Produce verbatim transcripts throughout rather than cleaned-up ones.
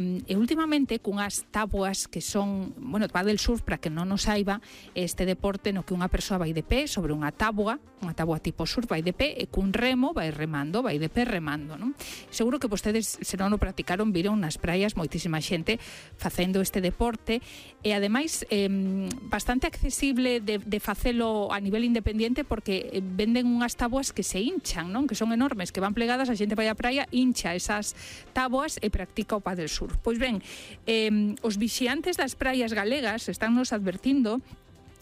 E últimamente cunhas táboas que son, bueno, paddle surf, para que non nos saiba, este deporte no que unha persoa vai de pé sobre unha táboa, unha táboa tipo surf, vai de pé e cun remo vai remando, vai de pé remando, non? Seguro que vostedes, se non o practicaron, viron nas praias moitísima xente facendo este deporte e ademais eh, bastante accesible de, de facelo a nivel independiente, porque venden unhas táboas que se hinchan, non? Que son enormes, que van plegadas, a xente vai á praia, hincha esas táboas e practica o paddle surf. Pois ben, eh, os vixiantes das praias galegas están nos advertindo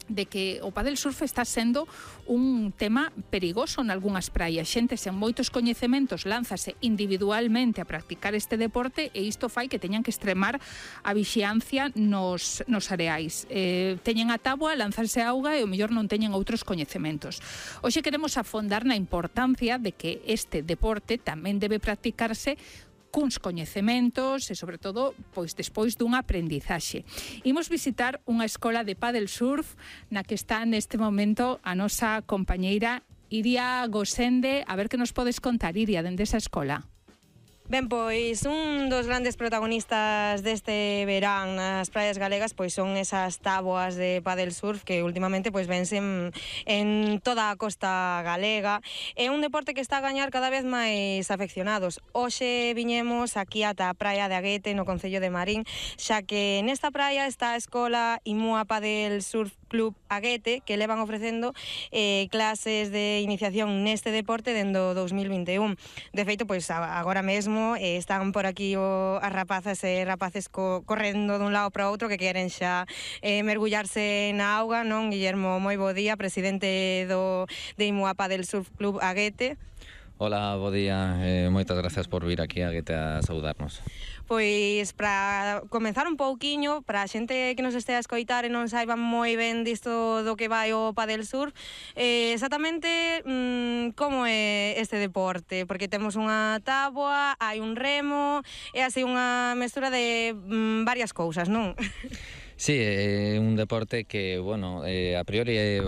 de que o paddle surf está sendo un tema perigoso nalgúnas praias. Xente sen moitos coñecementos lánzase individualmente a practicar este deporte e isto fai que teñan que extremar a vixiancia nos, nos areais. Eh, teñen a táboa, lanzarse a auga e o mellor non teñen outros coñecementos. Hoxe queremos afondar na importancia de que este deporte tamén debe practicarse cuns coñecementos e, sobre todo, pois despois dunha aprendizaxe. Imos visitar unha escola de paddle surf na que está neste momento a nosa compañeira Iria Gosende. A ver que nos podes contar, Iria, dende esa escola. Ben, pois un dos grandes protagonistas deste verán nas praias galegas pois son esas táboas de paddle surf que últimamente pois vense en, en toda a costa galega. É un deporte que está a gañar cada vez máis afeccionados. Hoxe viñemos aquí ata a praia de Aguete, no concello de Marín, xa que nesta praia está a escola Imúa Paddle Surf Club Aguete, que levan ofrecendo eh, clases de iniciación neste deporte dendo dous mil vinte e un. De feito, pois agora mesmo eh, están por aquí o, as rapazas e rapaces co, correndo dun lado para outro que queren xa eh, mergullarse na auga, non? Guillermo, moi bo día, presidente do de Imúa Paddle Surf Club Aguete. Hola, bo día, eh, moitas gracias por vir aquí a Aguete a saudarnos. Pois, para comenzar un pouquiño, para a xente que nos estea a escoitar e non saiba moi ben disto do que vai o paddle surf, eh, exactamente mmm, como é este deporte? Porque temos unha táboa, hai un remo, é así unha mestura de mmm, varias cousas, non? Sí, é un deporte que, bueno, eh, a priori é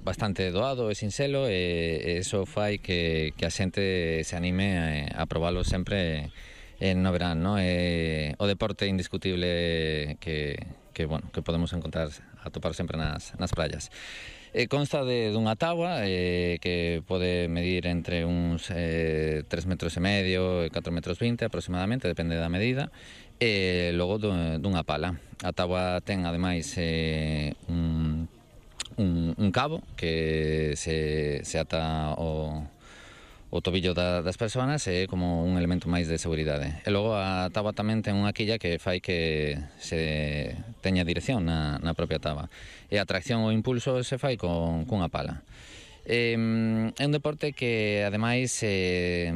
bastante doado e sinxelo e eso fai que, que a xente se anime a, a probalo sempre en no verán, ¿no? Eh, o deporte indiscutible que, que, bueno, que podemos encontrar, atopar sempre nas, nas praias. Eh, consta de dunha táboa eh, que pode medir entre uns eh, tres metros e medio e catro metros vinte aproximadamente, depende da medida, e logo dunha pala. A táboa ten ademais eh, un, un, un cabo que se, se ata o o tobillo da, das persoas é como un elemento máis de seguridade. E logo a táboa tamén ten unha quilla que fai que se teña dirección na, na propia táboa. E a tracción ou impulso se fai con, cunha pala. É, é un deporte que, ademais, eh,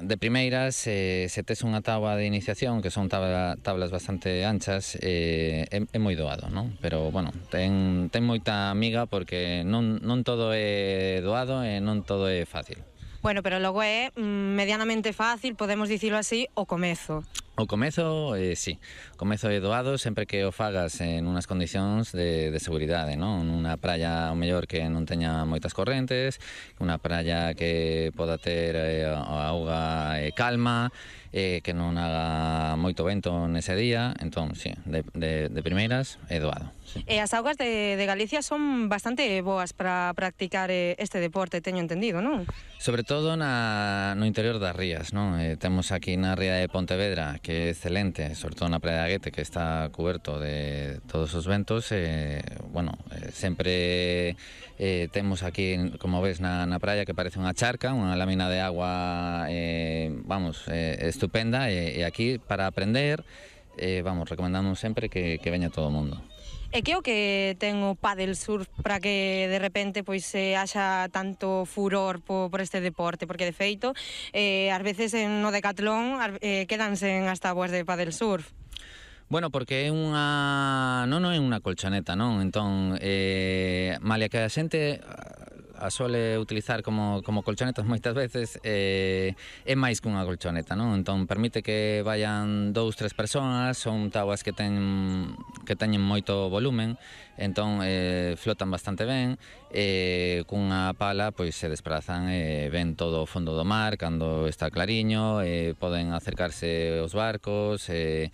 de primeiras, eh, se tes unha táboa de iniciación, que son tabla, tablas bastante anchas, eh, é, é moi doado, non? Pero, bueno, ten, ten moita amiga porque non, non todo é doado e non todo é fácil. Bueno, pero logo é mm, medianamente fácil, podemos dicilo así, o comezo. O comezo, eh, sí, o comezo é doado sempre que o fagas en unhas condicións de, de seguridade, non? Nunha praia, o mellor, que non teña moitas correntes, unha praia que poda ter eh, a auga eh, calma, eh, que non haga moito vento nese día, entón, sí, de, de, de primeiras é doado. Sí. E as augas de, de Galicia son bastante boas para practicar este deporte, teño entendido, non? Sobre todo na, no interior das rías, non? Eh, temos aquí na ría de Pontevedra, que é excelente, sobre todo na praia de Aguete, que está cuberto de todos os ventos, eh, bueno, eh, sempre eh, temos aquí, como ves, na, na praia, que parece unha charca, unha lámina de agua, eh, vamos, eh, estupenda, e, e aquí, para aprender, eh, vamos, recomendamos sempre que, que veña todo o mundo. E que o que ten o paddle surf para que de repente pois se haxa tanto furor por, por este deporte? Porque de feito, eh, ás veces en no decatlón eh, quedanse en as táboas de paddle surf. Bueno, porque é unha... non, non é unha colchoneta, non? Entón, eh, malia que a xente a suele utilizar como, como colchonetas moitas veces, eh, é máis que unha colchoneta, non? Entón, permite que vayan dous, tres persoas, son táboas que ten que teñen moito volumen, entón eh, flotan bastante ben, e cunha pala pois se desprazan e ven todo o fondo do mar cando está clariño, e poden acercarse aos barcos, e,